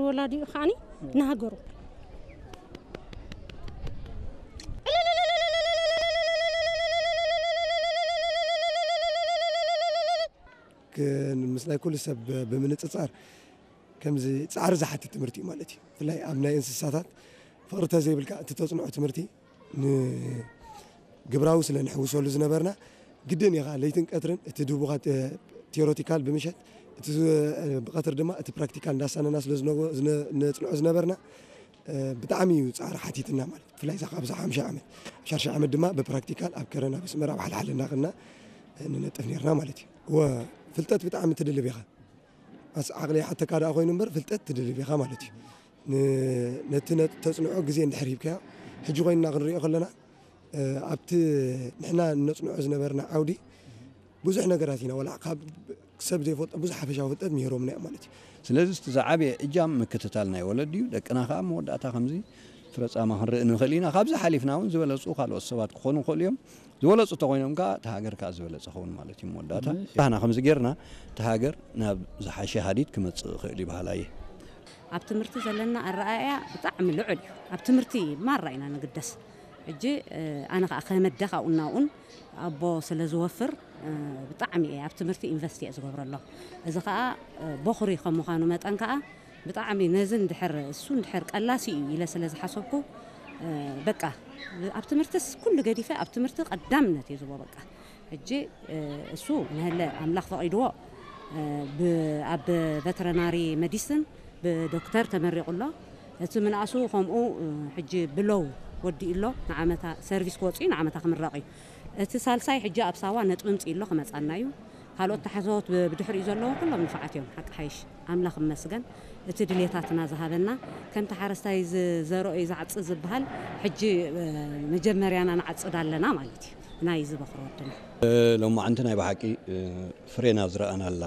ወላዲኡ ከዓኒ ንሃገሩ ምስ ናይ ኩሉ ሰብ ብምንጽጻር ከምዚ ጻዕሪ ዝሓትት ትምህርቲ እዩ ማለት እዩ። ብፍላይ ኣብ ናይ እንስሳታት ፍቕሪ ተዘይብልካ እቲ ተጽንዖ ትምህርቲ ንግብራዊ ስለ ንሕውሰሉ ዝነበርና ግድን ኢኻ ለይትን ቀትርን እቲ ድቡኻ ቴዎሬቲካል ብምሸት እቲ ዝ- ብቐትሪ ድማ እቲ ፕራክቲካል እንዳሳነና ስለ ዝነጎ- ዝነ- ነጽንዖ ዝነበርና ብጣዕሚ እዩ ጻዕሪ ሓቲትና ማለት ብፍላይ እዛ ካብዛ ሓምሻ ዓመት ሻርሻ ዓመት ድማ ብፕራክቲካል ኣብ ከረና ብስመራ ኣብ ሓልሓል እናኸና ንነጥፍ ነርና ማለት እዩ። ወ ፍልጠት ብጣዕሚ ትድልብ ኢኻ። ኣስ ዓቕሊ ይሓተካ ደኣ ኮይኑ እምበር ፍልጠት ትድልብ ኢኻ ማለት እዩ። ን- ነቲ ነ- ተጽንዖ ግዜ እንድሕር ሂብካዮ ሕጂ ኮይንና ክንሪኦ ከለና ኣብቲ ንሕና ነጽንዖ ዝነበርና ዓውዲ ብዙሕ ነገራት ኢና ወላ ካብ ሰብ ዘይፈልጦ ብዙሕ ሓፈሻዊ ፍልጠት ምሂሮምና እዮም ማለት እዩ። ስለዚ እቲ ዝዓበየ እጃም ምክትታል ናይ ወለዲ እዩ። ደቅና ከዓ መወዳእታ ከምዚ ፍረጻማ ክንርኢ ንኽእል ኢና። ካብዚ ሓሊፍና እውን ዝበለፁ ካልኦት ሰባት ክኾኑ ይኽእሉ እዮም። ዝበለፁ ተኮይኖም ከዓ እቲ ሃገር ከዓ ዝበለፀ ኸውን ማለት እዩ። መወዳእታ ባህና ከምዚ ጌርና እቲ ሃገር ናብ ዝሓሸ ሃዲድ ክመፅእ ይኽእል እዩ በሃላ እየ። ኣብ ትምህርቲ ዘለና ኣረኣእያ ብጣዕሚ ልዑል እዩ። ኣብ ትምህርቲ ማራ ኢና ንግደስ። ሕጂ ኣነ ከዓ ከመደ ካብኡ እናብኡን ኣቦ ስለ ዝወፍር ብጣዕሚ እየ ኣብ ትምህርቲ ኢንቨስት እየ ዝገብረሎ። እዚ ከዓ ቦኽሪ ከም ምዃኑ መጠን ከዓ ብጣዕሚ ነዚ እንድሕር እሱ እንድሕር ቀላሲ እዩ ኢለ ስለ ዝሓሰብኩ በቃ ኣብ ትምህርትስ ኩሉ ገዲፈ ኣብ ትምህርቲ ቀዳምነት እየ ዝቦ በቃ። ሕጂ እሱ ንሀለ ኣምላኽ ፈቒድዎ ኣብ ቨተረናሪ መዲስን ብዶክተር ተመሪቑ ኣሎ። እቲ ምንኣሱ ከምኡ ሕጂ ብሎው ወዲኡ ኣሎ። ንዓመታ ሰርቪስ ክወፅኡ ንዓመታ ክምረቕ እዩ። እቲ ሳልሳይ ሕጂ ኣብ ሳዋ ነጥቢ ምፅኡ ኣሎ ክመፃና እዩ። ካልኦት ተሓሰቦት ብድሕሪኡ ዘለዉ ኩሎም ንፋዓት እዮም ሓቂ ሓይሽ ኣምላኽ መስገን። እቲ ድሌታትና ዝሃበና ከምቲ ሓረስታይ ዝዘርኦ እዩ ዝዓፅድ ዝበሃል ሕጂ መጀመርያና ንዓፅድ ኣለና ማለት እዩ። ናይ ዝበኽሮ ወድና ሎማዓንቲ ናይ ብሓቂ ፍሬና ዝረኣናላ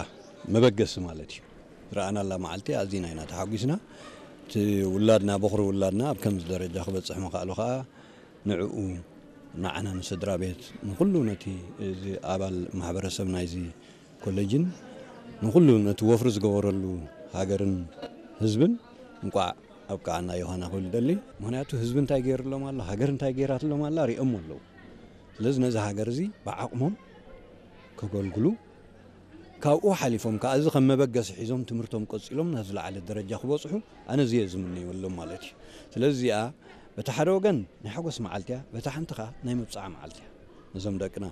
መበገሲ ማለት እዩ። ዝረኣናላ መዓልቲ ኣዚና ኢና ተሓጒስና። እቲ ውላድና በኽሪ ውላድና ኣብ ከምዚ ደረጃ ክበፅሕ ምኽኣሉ ከዓ ንዕኡ ንዓና ንስድራ ቤት ንኩሉ ነቲ እዚ ኣባል ማሕበረሰብ ናይዚ ኮሌጅን ንኩሉ ነቲ ወፍሪ ዝገበረሉ ሃገርን ህዝብን እንቋዕ ኣብቃዓና ዮሃና ክብል ደሊ። ምክንያቱ ህዝቢ እንታይ ገይርሎም ኣሎ፣ ሃገር እንታይ ገይራትሎም ኣላ ሪኦም ኣለዉ። ስለዚ ነዚ ሃገር እዚ ብዓቕሞም ከገልግሉ ካብኡ ሓሊፎም ከዓ እዚ ከም መበገሲ ሒዞም ትምህርቶም ቀፂሎም ናብ ዝለዓለ ደረጃ ክበፅሑ ኣነ እዚ እየ ዝምነየሎም ማለት እዩ። ስለዚ እዚኣ በቲ ሓደ ወገን ናይ ሓጎስ መዓልቲ እያ፣ በቲ ሓንቲ ከዓ ናይ መብፅዓ መዓልቲ እያ። ነዞም ደቅና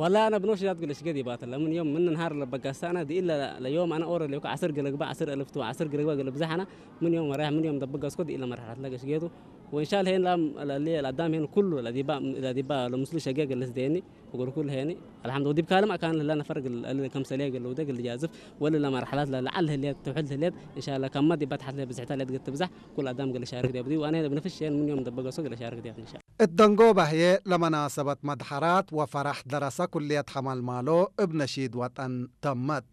والله أنا بنوش جات قلش قدي بات لمن يوم من نهار لبقى سنة دي إلا ليوم أنا أورا ليوك عصر قلق بقى عصر ألف تو عصر قلق بقى قلب زحنا من يوم ورايح من يوم دبقى سكو دي إلا مرحلة لقش قيتو. وإن شاء الله هين لام اللي الأدام هين كله الذي با الذي با لمسلو شقيق اللي سديني وقول كل هيني الحمد لله دي بكلام أكان لنا فرق اللي كم سليق اللي ودق اللي جازف ولا لا مرحلات لا لعل هليت تحل هليت إن شاء الله كم ما دي بتحت لي بزحتها اللي تقت بزح كل أدام قال شارك دي بدي وأنا بنفس الشيء من يوم دبقى سوق اللي شارك دي إن شاء الله. እት ደንጎ ባህዬ ለመናሰበት መድሐራት ወፈራሕ ደረሰ ኩልየት ሐማልማሎ እብ ነሺድ ወጠን ተመት።